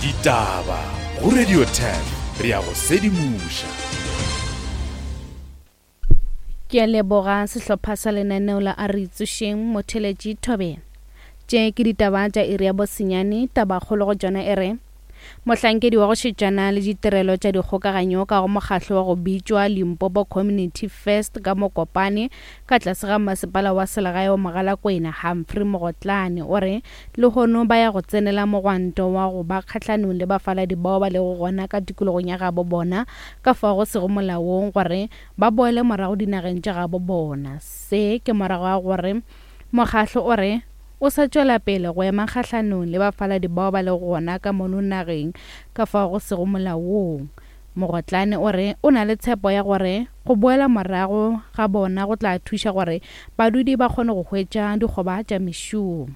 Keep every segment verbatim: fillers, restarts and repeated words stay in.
Ditaba go Radio ten re ya go sedimoša. Ke a leboga sehlopha sa lenaneo la A Re Itsošeng Motheletši Thobela. Tše ke ditaba tša iri ya bosenyane, tabakgolo go tšona e re mohlankedi wa go šetšana le ditirelo tša dikgokaganyo ka go mokgahlo wa go bitšwa Limpopo Community First ka Mokopane ka tlase ga masepala wa selegae wa Mogalakwena Humphrey Mogotlane o re lehono ba ya go tsenela mogwanto wa go ba kgahlanong le bafaladi bao ba lego gona ka tikologong ya gabo bona ka fao go sego molaong gore ba boele morago dinageng tša gabo bona. Se ke morago ga gore mokgahlo o re o sa tšwela pele go ema kgahlanong le bafaladi bao ba lego gona ka mono nageng ka fao go sego molaong. Mogotlane o re o na le tshepo ya gore go boela morago ga bona go tla thuša gore badudi ba kgone go hwetša dikgoba tša mešomo.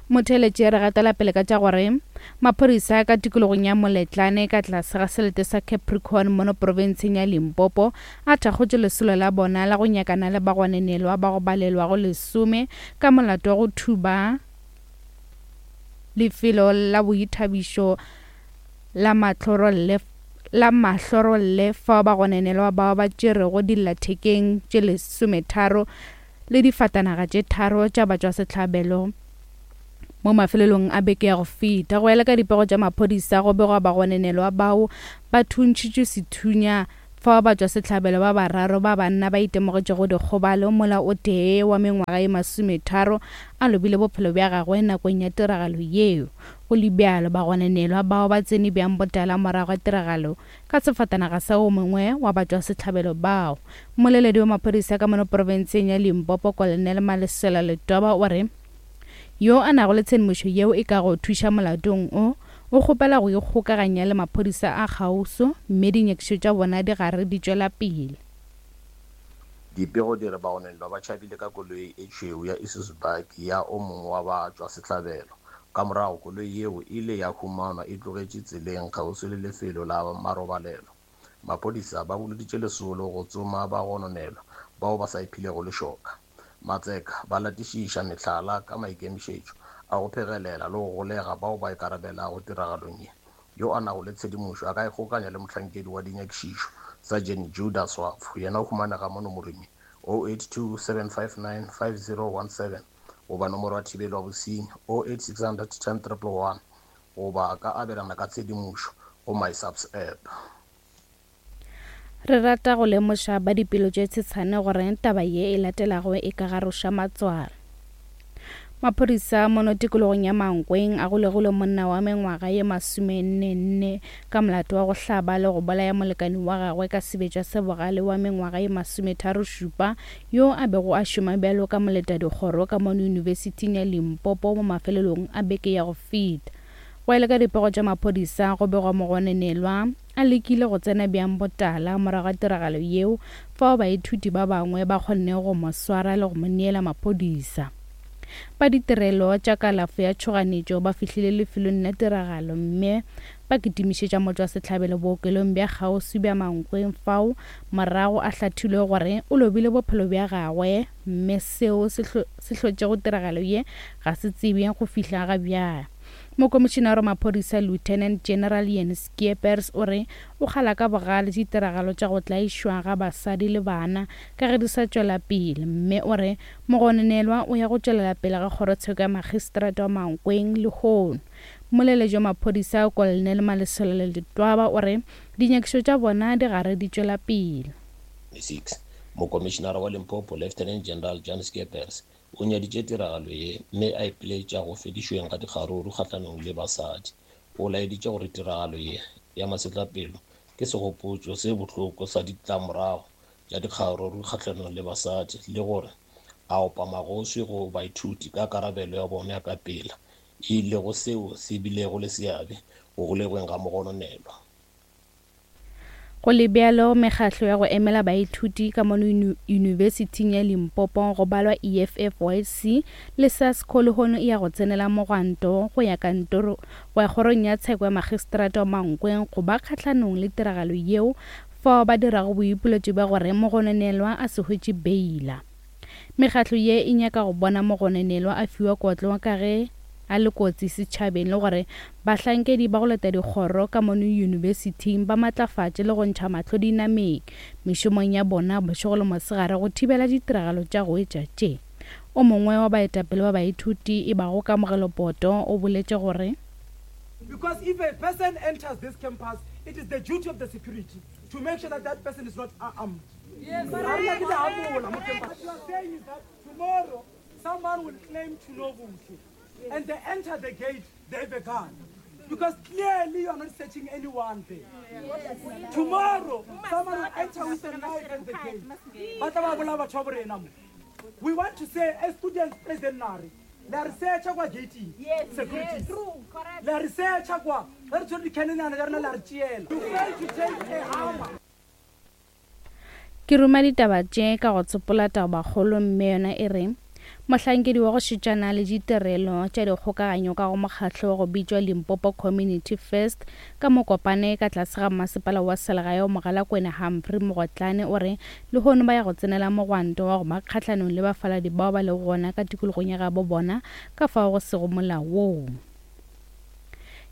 Motheletši re gatela pele ka tša gore maphodisa ka tikologong ya Moletlane ka tlase ga selete sa Capricorn mono profenseng ya Limpopo a thakgotše lesolo la bona la go nyakana le bagonenelwa ba go balelwago lesome ka molato wa go thuba lefelo la boithabišo la Mahlorolle la Mahlorolle fao bagonenelwa bao ba tšerego dillathekeng tše lesometharo le difatanaga tše tharo tša batšwasehlabelo mo mafelelong a beke ya go feta. Go ela ka dipego tša maphodisa go begwa bagonenelwa bao ba thuntšhitšwe sethunya fao batšwasehlabelo ba bararo ba banna ba itemogetšego dikgobalo mola o tee wa mengwaga ye masometharo a lobile bophelo bja gagwe nakong ya tiragalo yeo. Go le bjalo bagonenelwa bao ba tsene bjang botala morago ga tiragalo ka sefatanaga sa o mongwe wa batšwasehlabelo bao. Mmoleledi wa maphodisa ka mono profenseng ya Limpopo Colonel Malesela Letwaba o re yo a nago le tshedimošo yeo e ka go thuša molatong o o kgopela go ikgokaganya le maphodisa a kgauswi mme dinyakišišo tša bona di gare di tšwela pele. Dipego di re bagonenelwa ba tšhabile ka koloi e tšhweu ya Isuzu bakkie ya o mongwe wa batšwasehlabelo. Ka morago koloi yeo e ile ya humanwa e tlogetše tseleng kgauswi le lefelo la marobalelo. Maphodisa ba boloditše lesolo go tsoma bagononelwa bao ba sa iphilego lešoka. Matseka ba latišiša mehlala ka maikemišetšo a go phegelela le go golega bao ba ikarabelago tiragalong ye. Yo a nago le tshedimošo a ka ikgokanya le mohlankedi wa dinyakišišo Sergeant Judas Swafo, yena o humanega mo nomorong ye oh eight two seven five nine five zero one seven goba nomoro ya thibelo ya bosenyi oh eight six hundred ten triple one goba a ka abelana ka tshedimošo go MySAPS app. Re rata go lemoša ba dipelo tše tshetshane gore taba ye e latelago e ka garoša matswalo. Maphodisa mono tikologong ya Mankweng a golegile monna wa mengwaga ye masomenne-nne ka molato wa go hlaba le go bolaya molekani wa gagwe ka sebetša se bogale wa mengwaga ye masometharo-šupa yo a bego a šoma bjalo ka moletadikgoro ka mono Yunibesithing ya Limpopo mo mafelelong a beke ya go feta. Go ela ka dipego tša maphodisa go begwa mogonenelwa a lekile go tsena bjang botala morago ga tiragalo yeo fao baithuti ba bangwe ba kgonne go mo swara le go mo neela maphodisa. Ba ditirelo tša kalafo ya tšhoganetšo ba fihlile lefelong la tiragalo mme ba kitimišetša motšwasehlabelo bookelong bja kgauswi bja Mankweng fao morago a hlathilwe gore o lobile bophelo bja gagwe mme seo se hlotšego tiragalo ye ga se tsebje go fihla ga bjale. Mokomišenare wa maphodisa Lieutenant General Jan Skeepers o re o kgala ka bogale ditiragalo tša go tlaišwa ga basadi le bana ka ge di sa tšwela pele mme o re mogononelwa o ya go tšwelela pele ga kgorotsheko ya magistrata wa Mankweng lehono. Mmoleledi wa maphodisa Colonel Malesela Letwaba o re dinyakišišo tša bona di gare di tšwela pele. six Mokomišenare wa Limpopo Lieutenant General Jan Skeepers o nyaditše tiragalo ye mme a ipiletša go fedišweng ga dikgaruru kgahlanong le basadi. O laeditše gore tiragalo ye ya masetlapelo ke segopotšo se bohloko sa ditlamorago tša dikgaruru kgahlanong le basadi le gore a opa magoswi go baithuti ka karabelo ya bona ya ka pela e lego seo se bilego le seabe go golegweng ga mogononelwa. Go le bjalo mekgahlo ya go emela baithuti ka mono Yunibesithing ya Limpopo go balwa E F F Y C le SASCO lehono e ya go tsenela mogwanto go ya kantoro go ya kgorong ya tsheko ya magistrata wa Mankweng go ba kgahlanong le tiragalo yeo fao ba dirago boipiletšo bja gore mogononelwa a se hwetše beila. Mekgahlo ye e nyaka go bona mogononelwa a fiwa kotlo ka ge a le kotsi setšhabeng le gore bahlankedi ba go leta dikgoro ka mono yunibesithing ba matlafatše le go ntšha mahlo dinameng mešomong ya bona bošego le mosegare go thibela ditiragalo tša go etša tše. O mongwe wa baetapele ba baithuti e bago Kamogelo Poto o boletše gore Because if a person enters this campus, it is the duty of the security to make sure that that person is not armed. Yes. What you are saying is that tomorrow someone will claim to know Buntu, and they enter the gate, they have a gun. Because clearly you are not searching anyone there. Tomorrow, someone will enter with a knife at the gate. We want to say, as students, President Nari, la research kwa gate security. La research kwa re tshwere di-cannon ya rena la re tšeela. You fail to take a hammer. Ke ruma ditaba tše ka go tsopola tabakgolo mme yona e re mohlankedi wa go šetšana le ditirelo tša dikgokaganyo ka go mokgahlo wa go bitšwa Limpopo Community First ka Mokopane ka tlase ga masepala wa selegae wa Mogalakwena Humphrey Mogotlane o re lehono ba ya go tsenela mogwanto wa go ba kgahlanong le bafaladi bao ba lego gona ka tikologong ya gabo bona ka fao go sego molaong.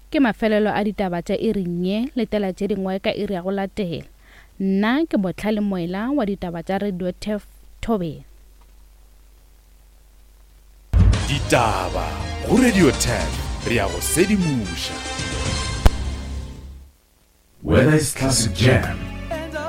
Ke mafelelo a ditaba tša iring ye, letela tše dingwe ka iri ya go latela. Nna ke Botlhale Moela wa ditaba tša Radio Turf Thobela. Ditaba go Radio ten re ya go sedimoša. Whether it's classic jam